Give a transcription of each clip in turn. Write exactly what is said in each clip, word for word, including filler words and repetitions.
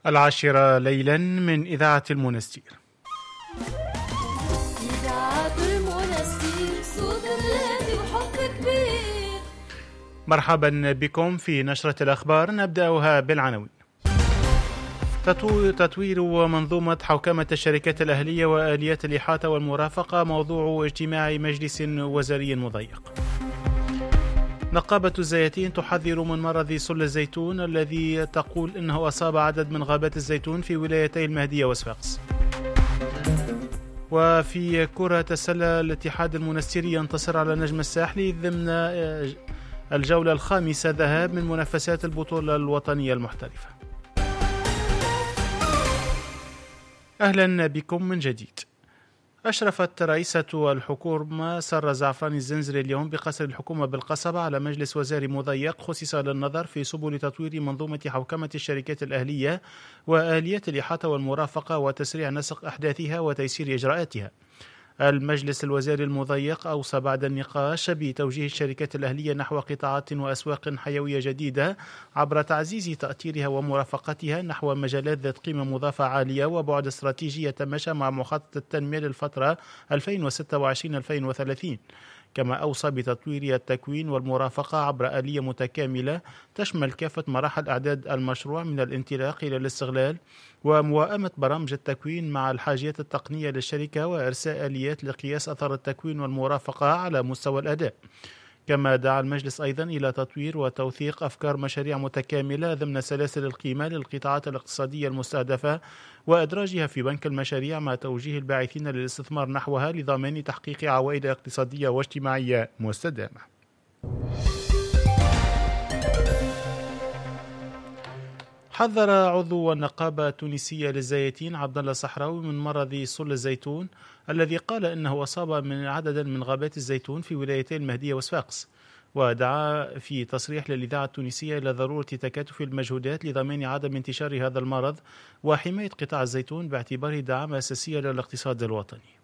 العاشرة ليلا من إذاعة المنستير. إذاعة المنستير، صوت بلادي وحب كبير. مرحبا بكم في نشرة الأخبار، نبدأها بالعناوين. تطوير منظومة حوكمة الشركات الأهلية وآليات الإحاطة والمرافقة موضوع اجتماع مجلس وزاري مضيق. نقابة الزيتين تحذر من مرض سل الزيتون الذي تقول إنه أصاب عدد من غابات الزيتون في ولايتي المهدية وصفاقس. وفي كرة السلة، الاتحاد المنستيري ينتصر على نجم الساحلي ضمن الجولة الخامسة ذهاب من منافسات البطولة الوطنية المحترفة. أهلا بكم من جديد. أشرفت رئيسة الحكومة سارة زعفراني الزنزري اليوم بقصر الحكومة بالقصبة على مجلس وزاري مضيق خصص للنظر في سبل تطوير منظومة حوكمة الشركات الأهلية وآليات الإحاطة والمرافقة وتسريع نسق أحداثها وتيسير إجراءاتها. المجلس الوزاري المضيق أوصى بعد النقاش بتوجيه الشركات الأهلية نحو قطاعات وأسواق حيوية جديدة عبر تعزيز تأثيرها ومرافقتها نحو مجالات ذات قيمة مضافة عالية وبعد استراتيجي يتماشى مع مخطط التنمية للفترة ألفين وستة وعشرين ألفين وثلاثين. كما أوصى بتطوير التكوين والمرافقة عبر آلية متكاملة تشمل كافة مراحل إعداد المشروع من الانطلاق إلى الاستغلال ومواءمة برامج التكوين مع الحاجيات التقنية للشركة وإرساء آليات لقياس أثر التكوين والمرافقة على مستوى الأداء. كما دعا المجلس أيضا إلى تطوير وتوثيق أفكار مشاريع متكاملة ضمن سلاسل القيمة للقطاعات الاقتصادية المستهدفة وإدراجها في بنك المشاريع مع توجيه الباعثين للاستثمار نحوها لضمان تحقيق عوائد اقتصادية واجتماعية مستدامة. حذر عضو النقابة التونسية للزيتين عبد الله الصحراوي من مرض سل الزيتون الذي قال إنه أصاب من عددا من غابات الزيتون في ولايتي المهدية وصفاقس، ودعا في تصريح للإذاعة التونسية إلى ضرورة تكاتف المجهودات لضمان عدم انتشار هذا المرض وحماية قطاع الزيتون باعتباره دعامة أساسية للاقتصاد الوطني.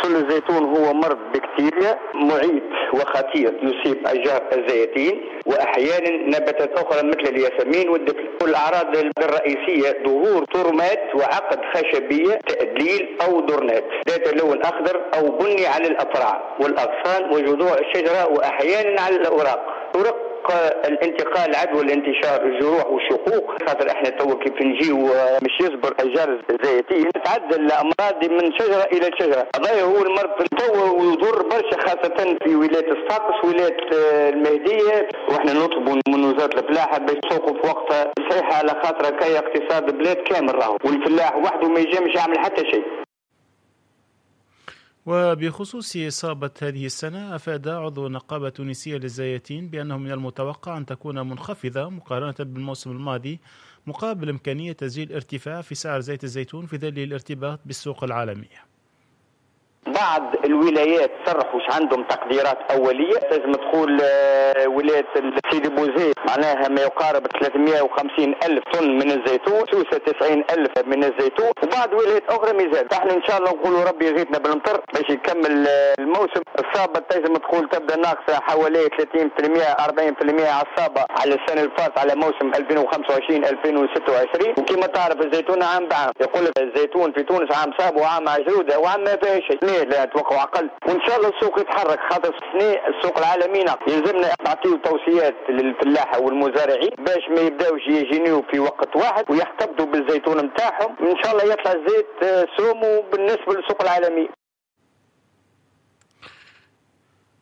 سل الزيتون هو مرض بكتيريا معيد وخطير يصيب أشجار الزيتين وأحيانا نباتات أخرى مثل الياسمين والدفل. والأعراض الرئيسية ظهور ترمات وعقد خشبية تأدليل أو درنات ذات لون أخضر أو بني على الأفراع والأغصان وجذوع الشجرة وأحيانا على الأوراق. طرق الانتقال عدوى الانتشار الجروح والشقوق، خاطر احنا تو كيف نجيو مش يصبر اشجار الزيتين تعدل الامراض من شجرة الى شجرة. هذا هو المرض تو ويضر برشا خاصة في ولاية صفاقس ولاية المهدية، واحنا نطلبوا من وزارة الفلاحة باش تسوقوا في وقتها صحيحه على خاطر كي اقتصاد بلاد كامل راهو، والفلاح وحده ما يجمش يعمل حتى شيء. وبخصوص إصابة هذه السنة، أفاد عضو النقابة التونسية للزيتين بأنه من المتوقع أن تكون منخفضة مقارنة بالموسم الماضي مقابل إمكانية تسجيل ارتفاع في سعر زيت الزيتون في ظل الارتباط بالسوق العالمية. بعض الولايات صرحوا عندهم تقديرات أولية، لازم تقول ولاية سيدي بوزيد معناها ما يقارب ثلاثمئة وخمسين ألف طن من الزيتون، سوسة تسعين ألف من الزيتون، وبعض ولايات أخرى مازال. احنا إن شاء الله نقولوا ربي يغيثنا بالمطر باش يكمل الموسم. الصابة تنجم تقول تبدا ناقصة حوالي ثلاثين بالمئة أربعين بالمئة على الصابة على السنة الفاتة على موسم ألفين وخمسة وعشرين ألفين وستة وعشرين. وكما تعرف الزيتون عام بعام، يقول لك الزيتون في تونس عام صاب وعام عجرودة وعام ما فيها شيء، لا توقعوا أقل. وإن شاء الله السوق يتحرك خاطر السنة السوق العالمي يلزمنا نعطيو توصيات للفلاحة والمزارعين باش ما يبداوش يجينيو في وقت واحد ويحتفظوا بالزيتون نتاعهم. إن شاء الله يطلع الزيت سومو بالنسبة للسوق العالمي.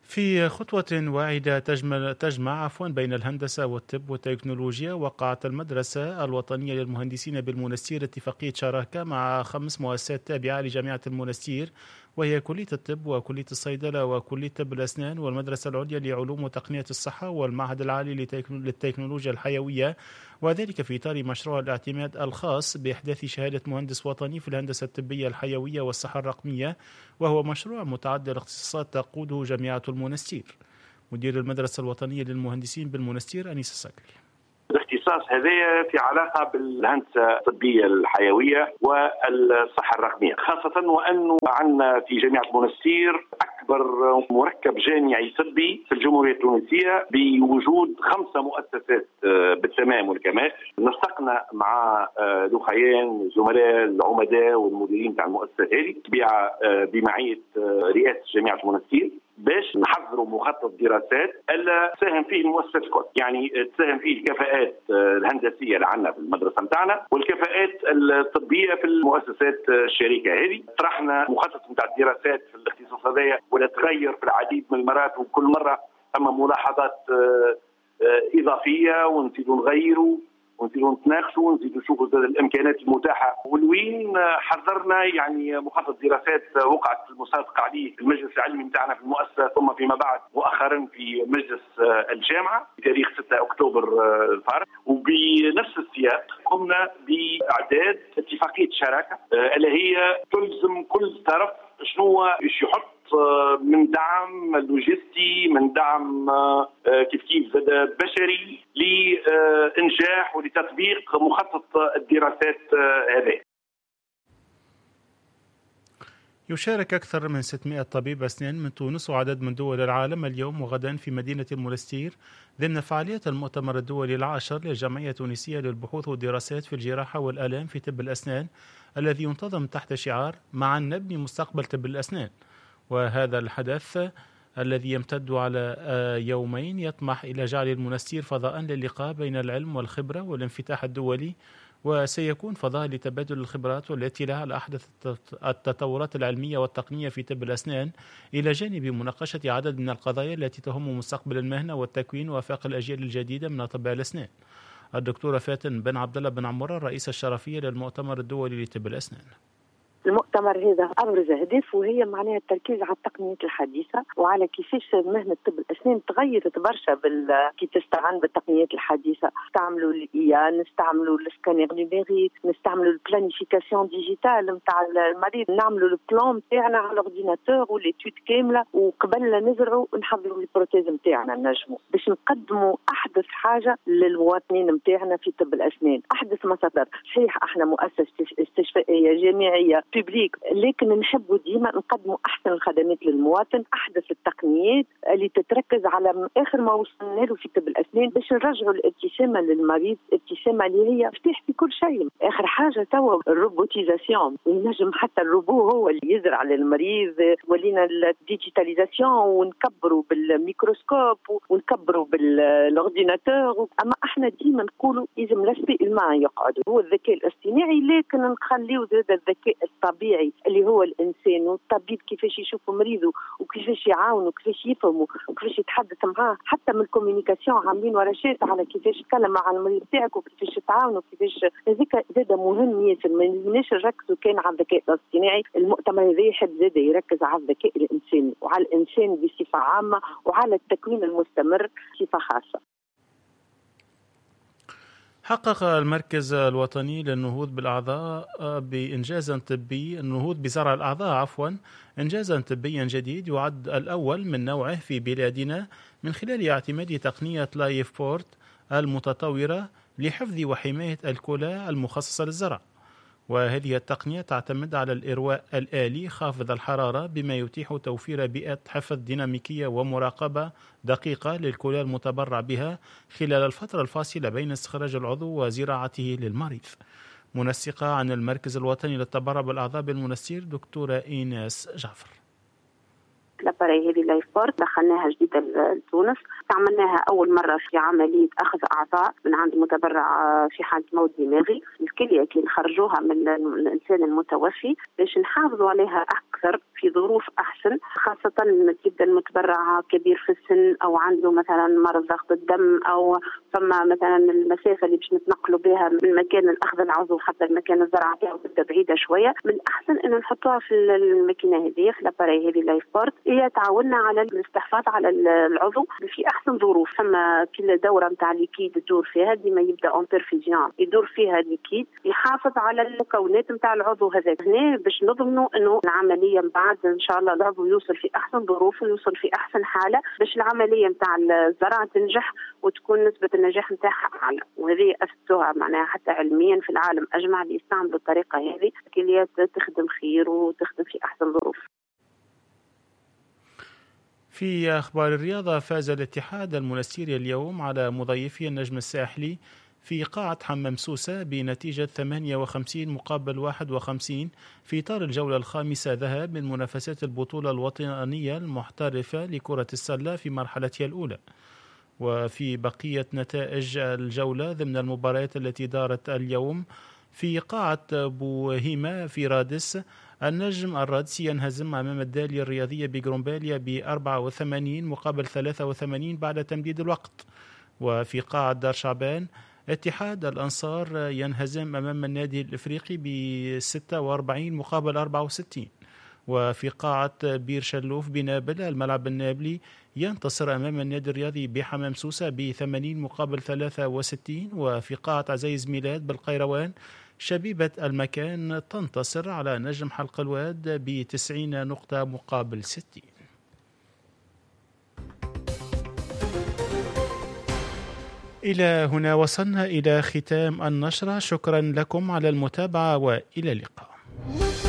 في خطوة واعدة تجمع, تجمع عفوا بين الهندسة والطب والتكنولوجيا، وقعت المدرسة الوطنية للمهندسين بالمنستير اتفاقية شراكة مع خمس مؤسسات تابعة لجامعة المنستير، وهي كلية الطب وكلية الصيدلة وكلية طب الأسنان والمدرسة العليا لعلوم وتقنية الصحة والمعهد العالي للتكنولوجيا الحيوية، وذلك في إطار مشروع الاعتماد الخاص بإحداث شهادة مهندس وطني في الهندسة الطبية الحيوية والصحة الرقمية، وهو مشروع متعدد الاختصاصات تقوده جامعة المنستير. مدير المدرسة الوطنية للمهندسين بالمنستير أنيس السكري. الاختصاص هذا في علاقة بالهندسة الطبية الحيوية والصحة الرقمية، خاصة وأنه عندنا في جامعة المنستير أكبر أكبر مركب جامعي طبي في الجمهورية التونسية بوجود خمسة مؤسسات بالتمام والكمال. نسقنا مع لخيان زملاء العمداء والمديرين تاع المؤسسة هذه طبيعة بمعية رئاسة جامعة المنستير باش نحضروا مخطط دراسات اللي تساهم فيه المؤسسات الكل، يعني تساهم فيه الكفاءات الهندسية اللي عندنا في المدرسة نتاعنا والكفاءات الطبية في المؤسسات الشريكة هذه. طرحنا مخطط نتاع الدراسات في الاختصاص هذايا ولا تغير في العديد من المرات، وكل مرة اما ملاحظات اضافية ونزيدوا نغيروا ونزيدوا نتناقشوا ونزيدوا نشوفوا الامكانيات المتاحة. والوين حضرنا يعني مخطط دراسات وقعت المصادقة عليه في المجلس العلمي نتاعنا في المؤسسة، ثم فيما بعد مؤخرا في مجلس الجامعة بتاريخ ستة اكتوبر الفارط. وبنفس السياق قمنا باعداد اتفاقية شراكة اللي هي تلزم كل طرف شنو يحط من دعم لوجستي، من دعم كيف كيف زاد بشري لإنجاح ولتطبيق مخطط الدراسات هذا. يشارك أكثر من ستمائة طبيب أسنان من تونس وعدد من دول العالم اليوم وغدا في مدينة المنستير ضمن فعالية المؤتمر الدولي العاشر للجمعية التونسية للبحوث والدراسات في الجراحة والآلام في طب الأسنان الذي ينتظم تحت شعار معا نبني مستقبل طب الأسنان. وهذا الحدث الذي يمتد على يومين يطمح إلى جعل المنستير فضاء للقاء بين العلم والخبرة والانفتاح الدولي، وسيكون فضاء لتبادل الخبرات والاطلاع على أحدث التطورات العلمية والتقنية في طب الأسنان، إلى جانب مناقشة عدد من القضايا التي تهم مستقبل المهنة والتكوين وآفاق الأجيال الجديدة من أطباء الأسنان. الدكتورة فاتن بن عبد الله بن عمورة الرئيسة الشرفية للمؤتمر الدولي لطب الأسنان. المؤتمر هذا أبرز أهدافه وهي معناها التركيز على التقنيات الحديثة وعلى كيفاش مهنة طب الأسنان تغيرت برشا بال... كي تستعان بالتقنيات الحديثة. نستعملوا ال IA، نستعملوا ال scanner numérique، نستعملوا ال planification digitale نتاع المريض، نعملوا ال plan نتاعنا على ال ordinateur و l'étude كاملة، وقبل لا نزرعوا نحضروا ال prothèse نتاعنا نجموا باش نقدموا أحدث حاجة للمواطنين نتاعنا في طب الأسنان، أحدث ما صدر. صحيح احنا مؤسسة استشفائية جامعية publique، لكن نحبوا ديما نقدموا احسن الخدمات للمواطن، احدث التقنيات اللي تتركز على اخر ما وصلنا له في طب الاسنان باش نرجعوا الابتسامة للمريض، ابتسامة اللي هي مفتاح في كل شيء. اخر حاجة توا ال robotisation، ينجم حتى الروبو هو اللي يزرع للمريض، ولينا ال digitalisation ونكبروا بالميكروسكوب ونكبروا بال ordinateur. اما احنا ديما نقولوا لازم l'aspect humain يقعد هو الذكاء الاصطناعي، لكن نخليو زاد الذكاء الطبيعي اللي هو الإنسان والطبيب كيفاش يشوف مريضه وكيفاش يعاونه وكيفاش يفهمه وكيفاش يتحدث معاه، حتى من ال communication عاملين ورشات على كيفاش تتكلم مع المريض تاعك وكيفاش تعاونه وكيفاش. هذيك زاد مهم ياسر، ما لازمناش نركزوا كان على الذكاء الاصطناعي. المؤتمر هذا يحب زاد يركز على الذكاء الإنساني وعلى الإنسان بصفة عامة وعلى التكوين المستمر بصفة خاصة. حقق المركز الوطني للنهوض بالأعضاء بإنجاز طبي النهوض بزرع الأعضاء عفوا إنجازا طبيا جديد يعد الأول من نوعه في بلادنا من خلال اعتماد تقنية LifePort المتطورة لحفظ وحماية الكلى المخصصة للزرع. وهذه التقنية تعتمد على الإرواء الآلي خافض الحرارة بما يتيح توفير بيئة حفظ ديناميكية ومراقبة دقيقة للكلى المتبرع بها خلال الفترة الفاصلة بين استخراج العضو وزراعته للمريض. منسقة عن المركز الوطني للتبرع بالأعضاء بالمنستير دكتورة إيناس جعفر. l'appareil هذه LifePort دخلناها جديدة لتونس، استعملناها أول مرة في عملية أخذ أعضاء من عند متبرع في حالة موت دماغي. الكلية كي نخرجوها من الإنسان المتوفي باش نحافظوا عليها أكثر في ظروف أحسن، خاصة تبدا المتبرع كبير في السن أو عنده مثلا مرض ضغط الدم أو فما مثلا المسافة اللي باش نتنقلوا بها من مكان الأخذ العضو حتى المكان الزرع تاعو تبدا بعيدة شوية. من الأحسن إنه نحطوها في الماكينة هذه في l'appareil هذه LifePort، هي تعاوننا على الاستحفاظ على العضو في احسن ظروف. ثم كل دوره نتاع liquide تدور فيها ديما يبدا en perfusion يدور فيها liquide يحافظ على المكونات نتاع العضو هذا. هنا باش نضمنوا انه العملية من بعد ان شاء الله العضو يوصل في احسن ظروف ويوصل في احسن حاله باش العملية نتاع الزرع تنجح وتكون نسبه النجاح نتاعها اعلى. وهذه اثبتوها معناها حتى علميا في العالم اجمع اللي يستعملوا الطريقة هذه كليات تخدم خير وتخدم في احسن ظروف. في أخبار الرياضة، فاز الاتحاد المنستيري اليوم على مضيفه النجم الساحلي في قاعة حمام سوسة بنتيجة ثمانية وخمسين مقابل واحد وخمسين في إطار الجولة الخامسة ذهاب من منافسات البطولة الوطنية المحترفة لكرة السلة في مرحلتها الأولى. وفي بقية نتائج الجولة ضمن المباريات التي دارت اليوم في قاعة بوهيمة في رادس، النجم الرادسي ينهزم أمام الدالية الرياضية بجرومباليا ب أربعة وثمانين مقابل ثلاثة وثمانين بعد تمديد الوقت. وفي قاعة دار شعبان، اتحاد الأنصار ينهزم أمام النادي الإفريقي ب ستة وأربعين مقابل أربعة وستين. وفي قاعة بير شلوف بنابل، الملعب النابلي ينتصر أمام النادي الرياضي بحمام سوسة ب ثمانين مقابل ثلاثة وستين. وفي قاعة عزيز ميلاد بالقيروان، شبيبة المكان تنتصر على نجم حلق الواد ب تسعين نقطة مقابل ستين. إلى هنا وصلنا إلى ختام النشرة. شكرا لكم على المتابعة وإلى اللقاء.